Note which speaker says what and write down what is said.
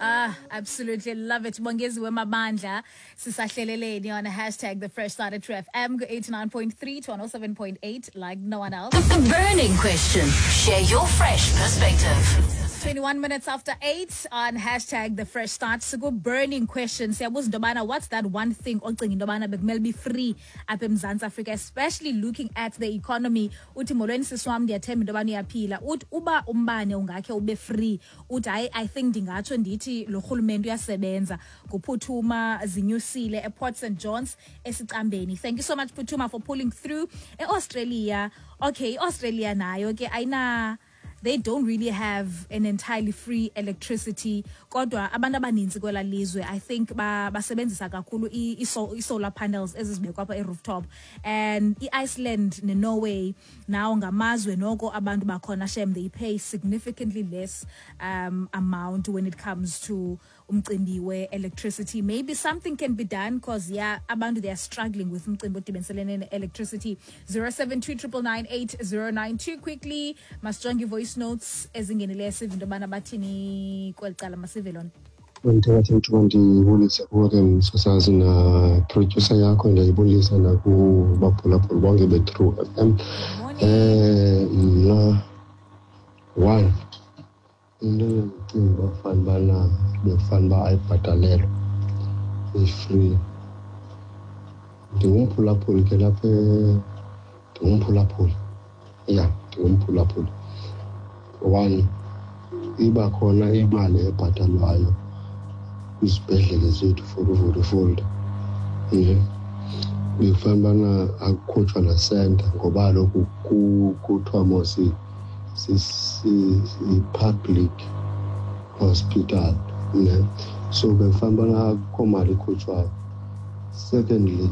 Speaker 1: Ah, absolutely love it. Bongeziwe Mabandla, sisahleleleni on #TheFreshStart at True FM 89.3 to 107.8 like no one else.
Speaker 2: The burning question. Share your fresh perspective.
Speaker 1: 21 minutes after 8 on #TheFreshStart. Siku burning question. Siyabuza into yobana what's that one thing ocinga into yobana bekumele be free apha eMzantsi Afrika, especially looking at the economy. Uthi molweni sisi wam, ndiyathemba into yobana uyaphila. Uthi uba umbane ungakhe ube free, uthi hayi, I think ndingatsho ndithi lo rhulumente uyasebenza. Nguphuthuma Zinyusile ePort St Johns esicambeni. Thank you so much, Phuthuma, for pulling through. EAustralia, okay, iAustralia nayo ke ayina, they don't really have an entirely free electricity, kodwa abantu abaninzi kwela lizwe, I think, basebenzisa kakhulu i-solar panels ezizibekwa apha e-rooftop. And i-Iceland neNorway nawo ngamazwe noko abantu bakhona, shem, they pay significantly less amount when it comes to umcimbi we-electricity. Maybe something can be done, because yeah, abantu, they are struggling with umcimbi odibaniselene ne-electricity. 072 999 8092. Quickly, masijonge i-voice notes ezingenileyo, sive into yobana bathini kweli cala. Masive lona.
Speaker 3: Ndithathe ithuba ndibulise kuwe ke, msasazi, na-producer yakho. Ndiyayibulisa nakubaphulaphuli bonke be-True FM.
Speaker 1: Morning.
Speaker 3: Mna, one into endicinga uba fana ubana bekufana uba ayibhatalelwa, i-free, ndingumphulaphuli ke lapha, ndingumphulaphuli, ya, ndingumphulaphuli. One, iba khona imali ebhatalwayo kwizibhedlele zethu for uvula ifolda ne, bekufanele ubana akukhutshwa nasenta, ngoba kaloku kuthiwa mos yi-public hospital ne, so bekufanele ubana akukho mali ikhutshwayo. Secondly